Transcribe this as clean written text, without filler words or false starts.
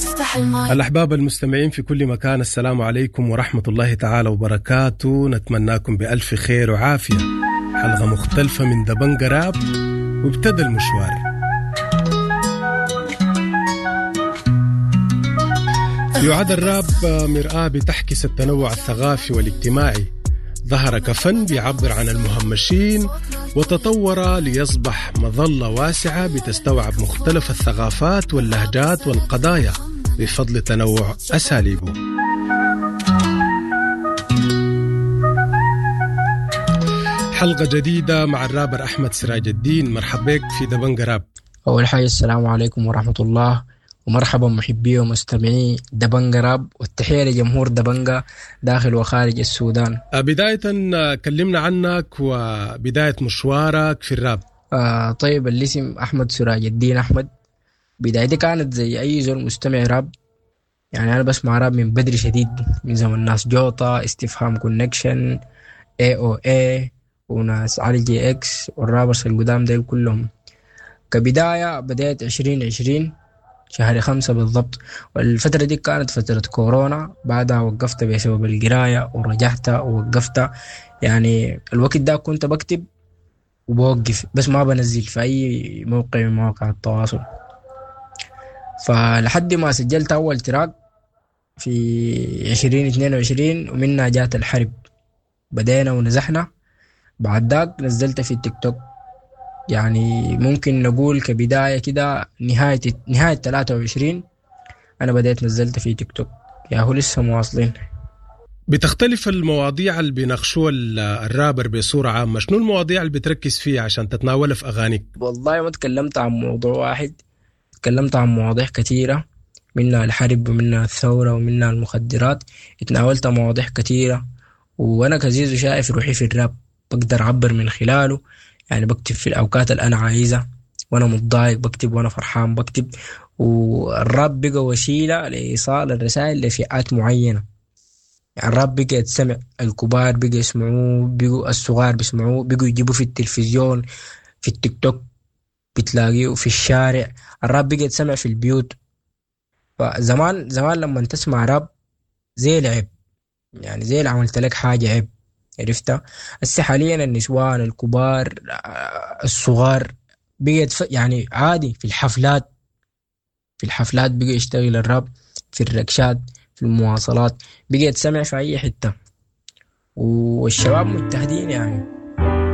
افتح المايك. الأحباب المستمعين في كل مكان، السلام عليكم ورحمة الله تعالى وبركاته. نتمناكم بألف خير وعافية. حلقة مختلفة من دبنجة راب، وابتدى المشوار. يعد الراب مرآة بتحكس التنوع الثقافي والاجتماعي. ظهر كفن بيعبر عن المهمشين، وتطور ليصبح مظلة واسعة بتستوعب مختلف الثقافات واللهجات والقضايا بفضل تنوع أساليبه. حلقة جديدة مع الرابر أحمد سراج الدين. مرحبا بك في دبنجة راب. أول حاجة السلام عليكم ورحمة الله، ومرحبا محبي ومستمعي دبنجة راب، والتحية لجمهور دبنجة داخل وخارج السودان. بداية كلمنا عنك وبداية مشوارك في الراب. طيب، الاسم أحمد سراج الدين أحمد. بدايتي كانت زي أي زول مستمع راب، أنا بسمع راب من بدري شديد، من زمن ناس جوطة، استفهام كونكشن، اي او اي، وناس علي جي اكس وال rappers القدام ديل كلهم. كبداية بدأت 2020 شهر 5 بالضبط، والفترة دي كانت فترة كورونا. بعدها وقفت بسبب القراية ورجعت ووقفت. الوقت ده كنت بكتب وبوقف، بس ما بنزل في أي موقع من مواقع التواصل. فلحد ما سجلت أول track في 2022، ومنها جات الحرب، بدينا ونزحنا. بعد ذاك نزلت في التيك توك. ممكن نقول كبداية كده نهاية 23 أنا بدأت نزلت في تيك توك. يا هو لسه مواصلين. بتختلف المواضيع اللي بيناقشوها الرابر بصورة عامة، شنو المواضيع اللي بتركز فيها عشان تتناولها في أغانيك؟ والله ما تكلمت عن موضوع واحد، تكلمت عن مواضيع كثيرة، منها الحرب ومنها الثورة ومنها المخدرات. اتناولت مواضيع كثيرة، وأنا كزيزو شايف روحي في الراب بقدر أعبر من خلاله. بكتب في الأوقات اللي أنا عايزها، وأنا متضايق بكتب، وأنا فرحان بكتب. والراب بقى وسيلة لإيصال الرسائل لفئات معينة. الراب بقى يتسمع، الكبار بقى يسمعوه، بقوا الصغار بيسمعوه، بقوا يجيبوه في التلفزيون، في التيك توك بتلاقيه، في الشارع. الراب بقى يتسمع في البيوت. فزمان زمان لما تسمع راب زي العيب، زي اللي عملت لك حاجة عيب، عرفتها؟ هسه حاليا النسوان الكبار، الصغار بقت عادي. في الحفلات بقى يشتغل الراب، في الركشات، في المواصلات، بقى يتسمع في أي حتة، والشباب مجتهدين.